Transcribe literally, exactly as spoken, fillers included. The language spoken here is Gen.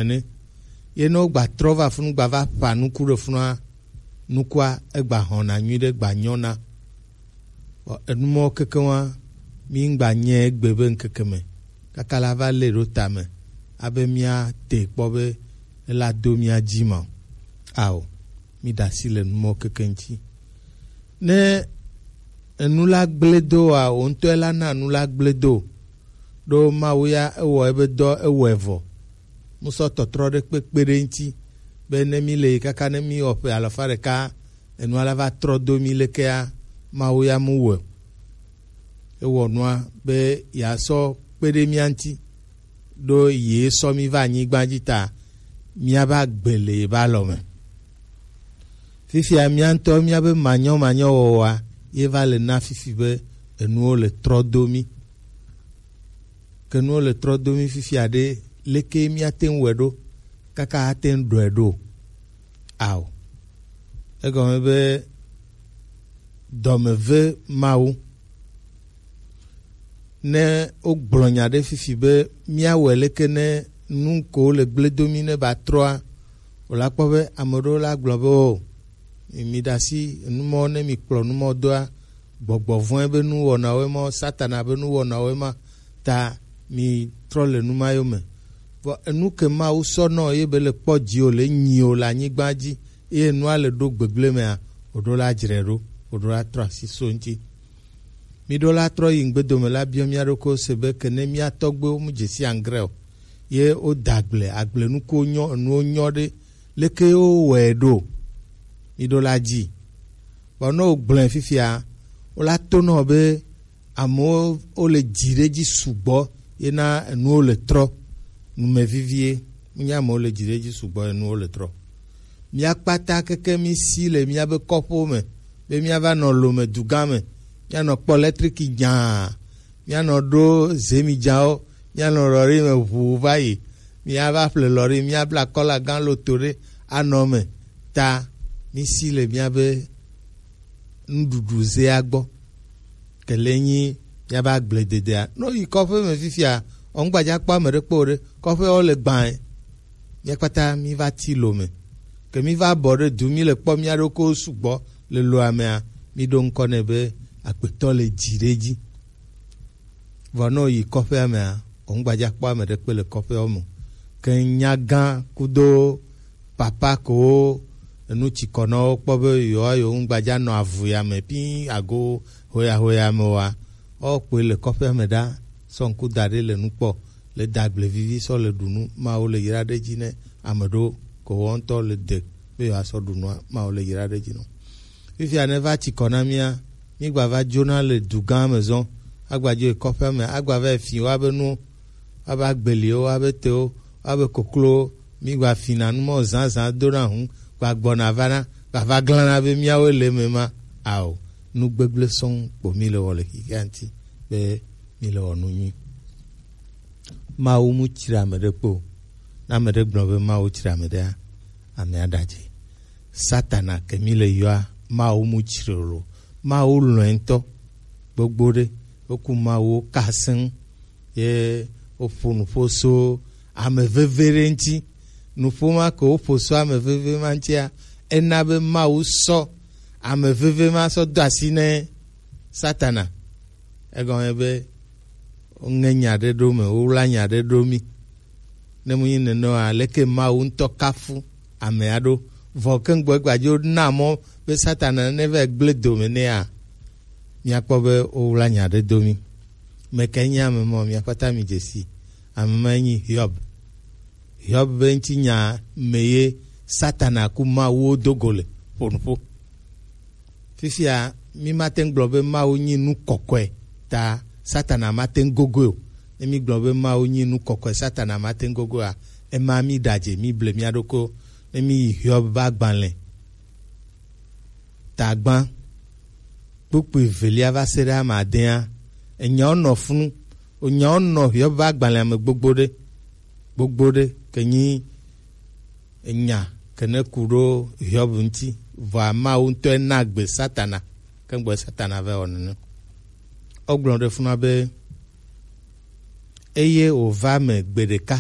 ene. Ye ne wogba trɔ va funu gba va ƒa nuku ɖe funua, nukua egba hɔna nyuiɖe, gba nyɔna. Vɔ enumɔwo kekeŋ wa, mi ŋgba nyɛ egbe be ŋkeke me kaka la va lé ɖo tame abe mía te kpɔ be ela do mía dzi ma o. Ao, mi ɖe asi le numɔwo kekeŋ ŋuti. Ne enu la gblẽ do wa, wò ŋutɔe la na nu la gblẽ do. Ɖo Mawu ya ewɔ ebe dɔ, ewɔe vɔ. Mu sɔ tɔtrɔ ɖe kpekpe ɖe ŋuti be ne mi le yi kaka ne mi wɔ ƒe alafa ɖeka, enua la va trɔ do mi lekea, Mawu ya mu wɔe o. Ewɔ nua be yeasɔ kpe ɖe mía ŋuti, ɖo ye sɔ mi va anyigba dzi ta, míava gbe le yeƒe alɔ me. Fifia mía ŋutɔ míabe manyɔmanyɔ wɔwɔa ye va le na fifi be enuwo le trɔ do mí. Ke nuwo le trɔ do mí fifia ɖe, leke míate ŋu wɔe ɖo kaka ate ŋu ɖɔe ɖo? Ao. Egɔme be dɔme ve Mawu. Ne wogblɔ nya ɖe fifi be míawɔe leke ne nu ko le gblẽ do mí ne ba trɔa, wòla kpɔ be ame ɖewo la gblɔ be, o, mi ɖe asi nu mawo ne mi kplɔ nu mawo doa, gbɔgbɔ vɔ̃e be nuwɔnawoe ma, Satana be nuwɔnawoe ma, ta mi trɔ le nu ma yome. Vɔ enu ke Mawu sɔ nɔ ye be le kpɔ dzi o, le nyi o le anyigba dzi, eye nua le ɖo gbegblẽ mea, wòɖo la dzre ɖo, wòɖo la trɔ asi so ŋuti. Mi ɖo la trɔ yi ŋgbedo me la biɔ mía ɖokuiwo se be ke ne mía tɔgbuiwo mu dze si angre o, ye woda agble, agble nukuwo nyɔ, enuwo nyɔ ɖe, leke ye wowɔe ɖo? Mi ɖo la dzi. Vɔ ne wogblɔe fifia, wola to nɔ be amewo wole dzi ɖe dzi sugbɔ ye na enuwo le trɔ. Nume vivie, menye amewo le dzi ɖe dzi sugbɔ ye enuwo le trɔ. Mía kpata keke mí si le míabe kɔƒewo me be míava nɔ lome dugã me, míanɔ kpɔ lɛtriki nyaa, míanɔ ɖo zemidzawo, míanɔ lɔri me ʋuu va yi, míava ƒle lɔri, míabla kɔla gã loto ɖe anɔ eme. Ta mísi le míabe nuɖuɖu zea gbɔ. Ke le nyi míabe agblededea. Ne woyi kɔƒe me fifia, ɔnugbadza kpɔ ame ɖe kpɔ o ɖe, kɔƒeawo le gbãe. Mía kpata míva ti lo me. Ke míva bɔ ɖe du, míle kpɔ mía ɖokuiwo sugbɔ le loa mea, míɖo ŋkɔ nɛ be agbetɔ le dzi ɖe dzi. Vɔ ne woyi kɔƒea mea, ɔnugbadza kpɔ ame ɖe kpe le kɔƒeawo me o. Ke nyagã kudo papa kewo enu tsikɔnɔwo kpɔ be yewoa yewo ŋugbadza nɔ avu ya me pi ago hoya hoya me oa, woakpɔe le kɔƒea me ɖa, sɔ ŋku da ɖe le nu kpɔ, le da agble vivi sɔ le ɖu nu, Mawu le yra ɖe dzi ne ame ɖewo ke woawo ŋutɔ le de be yewoasɔ ɖu nua, Mawu le yra ɖe dzi nɔ. Fifia ne va tsikɔ na mía, mígba va dzona le du gã me zɔ, agba dzo yi kɔƒea me, agba va yi fi woabe nuwo, woabe agbeliwo, woabe tewo, woabe koklowo, mígba fina nu mɔ zazã dona hu, gba gbɔna vana, gba va glana be míawoe le eme ma. Ao, nu gbegblẽ sɔŋ kpo míle wɔ le xexea ŋuti, be míle wɔ nu nyui. Mawu mu tsri ame ɖe kpe o. Ne ame ɖe gblɔ be Mawu tsri ame ɖea, amea ɖadze. Satana ke míle yɔa, Mawu mu tsri o lo. Mawu lɔ̃e ŋutɔ. Gbogbo ɖe, woku Mawu ka seŋ. Ye woƒo nuƒo so ame veve ɖe ŋuti. Nuƒo ma ke woƒo so ame veve ma ŋutia, ena be Mawu sɔ ame veve ma sɔ do asi ne Satana. Egɔme be woŋe nya ɖe ɖo me, wowla nya ɖe ɖo mí. Ne mu nyi nenema, leke Mawu ŋutɔ kafu amea ɖo? Vɔ ke ŋgbɔ egbadzo na mɔ be Satana ne va gblẽ dome nɛa, míakpɔ be wowla nya ɖe do mí. Meke nyi ame mɔ, mia kpata mi dze si. Ame ma nyi Hiob. Hiob be ŋutinya me ye Satana ku Mawuwo do go le ƒo nuƒo. Fifia, mi mate ŋu gblɔ be Mawu nyi nu kɔkɔe ta Satana mate ŋu gogoe o. Ne mi gblɔ be Mawu nyi nu kɔkɔe, Satana mate ŋu gogoea, ema mi ɖadze, mi ble mia ɖokuiwo. Ne mi yi Hiob be agbalẽ ta gbã, kpukpui evelia va se ɖe ame adea, enyawo nɔ funu. Enyawo nɔ Hiob be agbalẽa me gbogbo ɖe, gbogbo ɖe, ke nyi enya ke ne ku ɖo Hiob ŋuti, vɔa Mawu ŋutɔe na gbe Satana, ke ŋgbɔ Satana va wɔ nene. Wogblɔ ɖe funa be, eye wòva me gbe ɖeka,